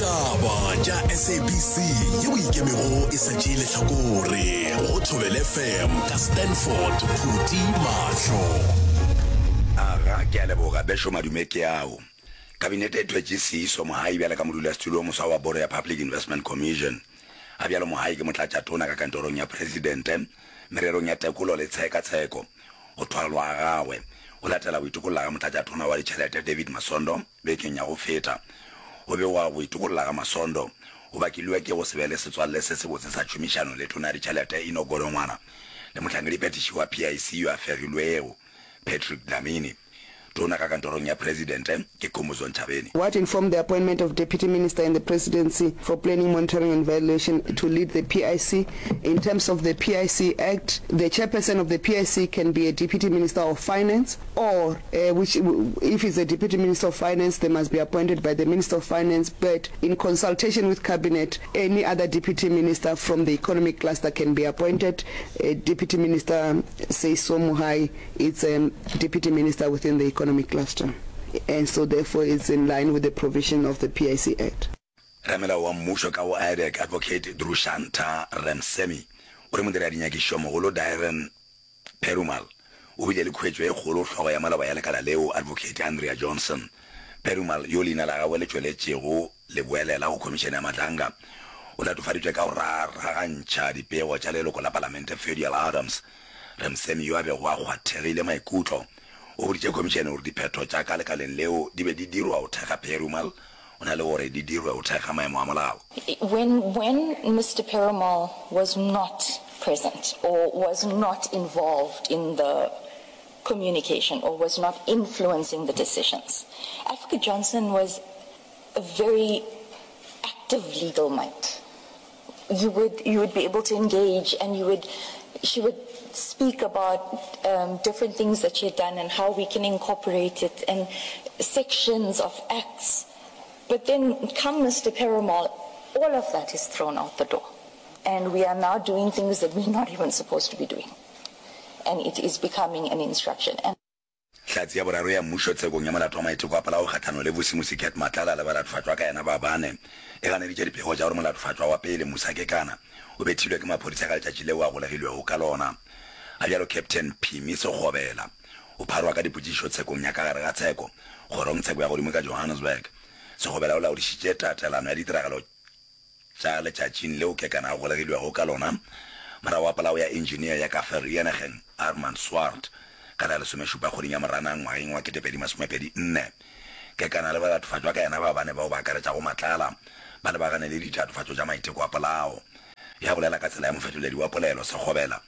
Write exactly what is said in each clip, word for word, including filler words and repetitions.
Ditaba tša S A B C yeo ikemego e sa tšee lehlakore go Thobela F M ka Stanford Phuti Mahlo. Aga, ke a leboga bešo madume ke ao. Kabinete e thwetše Seiso Mohai bjale ka modulasetulo o moswa wa Bodo ya Public Investment Commission. Ga bjalo Mohai ke motlatšatona ka kantorong ya Presidente mererong ya tekolo le tshekatsheko. Go thwalwa ga gagwe go latela go itokolla ga motlatšatona wa ditšhelete David Masondo bekeng ya go feta. Go begwa go itokolla ga Masondo go bakilwe ke go se be le setswalle se sebotse sa tšhomišano le tona ya ditšhelete Enoch Godongwana le mohlankediphethiši wa P I C yo a fegilwego Patrick Dlamini. Tona ka kantorong ya Presidente ke Khumbudzo Ntshavheni. What informed the appointment of Deputy Minister in the Presidency for Planning, Monitoring and Evaluation to lead the P I C? In terms of the P I C Act, the chairperson of the P I C can be a Deputy Minister of Finance or, uh, which if it's a Deputy Minister of Finance, they must be appointed by the Minister of Finance, but in consultation with Cabinet, any other Deputy Minister from the economic cluster can be appointed. Uh, Deputy Minister Seiso Mohai is a Deputy Minister within the economic cluster. And so therefore it's in line with the provision of the P I C Act. Ramelao wa mmušo ka go I D A C, Advocate Drushantha Ramsamy, o re modiradinyakešo mogolo Daren Perumal o bile le khuetšo e kgolo hlogo ya maloba ya lekala leo, Advocate Andrea Johnson. Perumal, yo leina la gagwe le tšweletšego leboelela go Khomišene ya Madlanga, o latofaditšwe ka go raragantšha dipego tša leloko la palamente Ferdial Adams. Ramsamy, yo a bego a kgwathegile maikutlo, o boditše khomišene gore diphetho tša ka lekaleng leo di be di dirwa go thekga Perumal go na le gore di dirwe go thekga maemo a molao. When, when Mister Perumal was not present or was not involved in the communication or was not influencing the decisions, Advocate Johnson was a very active legal mind. You would, you would be able to engage and you would, she would speak about um, different things that she had done and how we can incorporate it and sections of acts. But then come Mister Perumal, all of that is thrown out the door. And we are now doing things that we're not even supposed to be doing. And it is becoming an instruction. And Hlatse ya boraro ya mmušo tshekong ya molato wa maiteko a polao kgahlanong le Vusimusi Cat Matlala le balatofatšwa ka yena ba bane e ganeditše dipego tša gore molatofatšwa wa pele Musa Kekana o bethilwe ke maphodisa ka letšatši leo a golegilwego ka lona. Ga bjalo Captain Phimi Sekgobela o pharwa ka dipotšišo tshekong ya ka gare ga tsheko kgorongtsheko ya godimo ka Johannesburg. Sekgobela o laodišitše tatelano ya ditiragalo tša letšatšing leo Kekana a golegilwego ka lona morago ga polao ya engineer ya ka Vereeniging Armand Swart ka la lesomešupa kgweding ya Moranang ngwageng wa ketepedi masomepedi nne. Kekana le balatofatšwa ka yena ba bane bao ba akaretšago Matlala ba lebagane le ditatofatšo tša maiteko a polao. Ya bolela ka tsela ya mofetoledi wa polelo, Sekgobela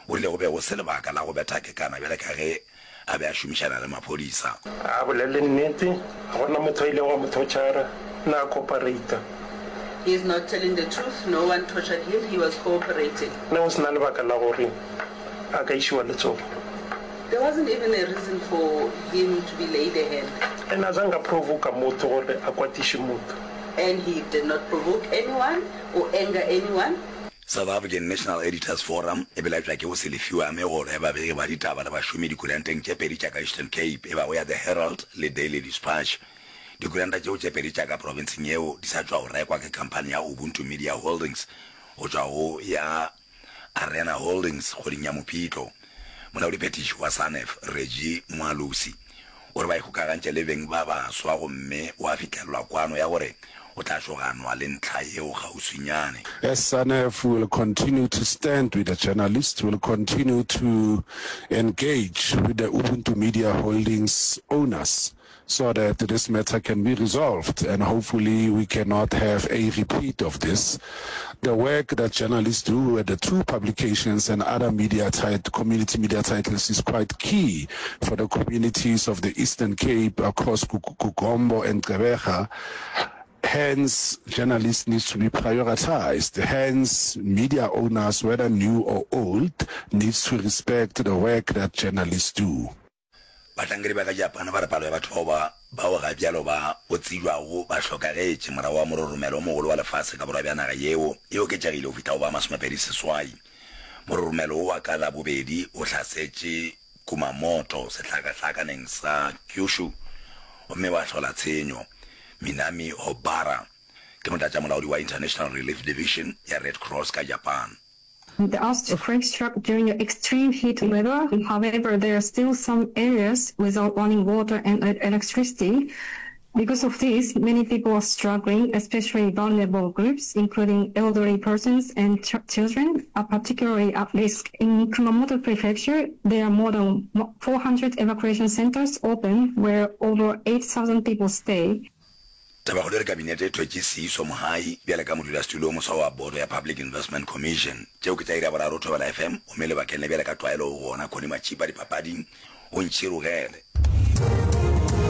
o rile go be go se lebaka la go betha Kekana bjale ka ge a be a šomišana le maphodisa. A bolele nnete, ga gona motho a ileng wa mo torture, na a cooperate. He is not telling the truth. No one tortured him. He was cooperating. Ne go se na lebaka la gore a ka išiwa letsogo. There wasn't even a reason for him to be laid a hand. And a zange a provoka motho gore a kwatiše motho. And he did not provoke anyone or anger anyone. South African National Editors Forum e belaetšwa ke go se lefiwe ga megolo ya babegi ba ditaba le bašomi dikuranteng tše pedi tša ka Eastern Cape e bago ya The Herald le Daily Dispatch. Dikuranta tšeo tše pedi tša ka profenseng yeo di sa tšwa go rekwa ke khamphani ya Ubuntu Media Holdings go tšwa go ya Arena Holdings kgweding ya Mopitlo. Molaodiphethiši wa SANEF Reggie Moalosi o re ba ikgokagantše le beng ba baswa gomme gwa fihlelelwa kwano ya gore go tla šoganwa le ntlha yeo kgauswinyane. As SANEF, we will continue to stand with the journalists, we will continue to engage with the Ubuntu Media Holdings owners so that this matter can be resolved and hopefully we cannot have a repeat of this. The work that journalists do at the two publications and other media tit- community media titles is quite key for the communities of the Eastern Cape across KuGompo and Gqeberha. Hence, journalists need to be prioritized. Hence, media owners, whether new or old, needs to respect the work that journalists do. Bahlankedi ba ka Japan ba re palo ya batho bao ba bao ga bjalo ba go tsebjago ba hlokagetše morago ga mororomelo o mogolo wa lefase ka borwa bja naga yeo e oketšegile go fihla go ba masomepedi seswai. Mororomelo wo wa ka Labobedi o hlasetše Kumamoto sehlakahlakaneng sa Kyushu gomme wa hlola tshenyo Minami Hobara. Ke motlatšamolaodi wa International Relief Division ya Red Cross ka Japan. The earthquake struck during extreme heat weather. However, there are still some areas without running water and electricity. Because of this, many people are struggling, especially vulnerable groups, including elderly persons and ch children, are particularly at risk. In Kumamoto Prefecture, there are more than four hundred evacuation centers open where over eight thousand people stay. Tabakgolo e re Kabinete e thwetše Seiso Mohai bjale ka modulasetulo o moswa wa Boto ya Public Investment Commission. Tšeo ke tša iri ya boraro Thobela F M, gomme lebakeng le bjale ka tlwaelo o gona Connie Matšipa dipapading o ntšhirogele.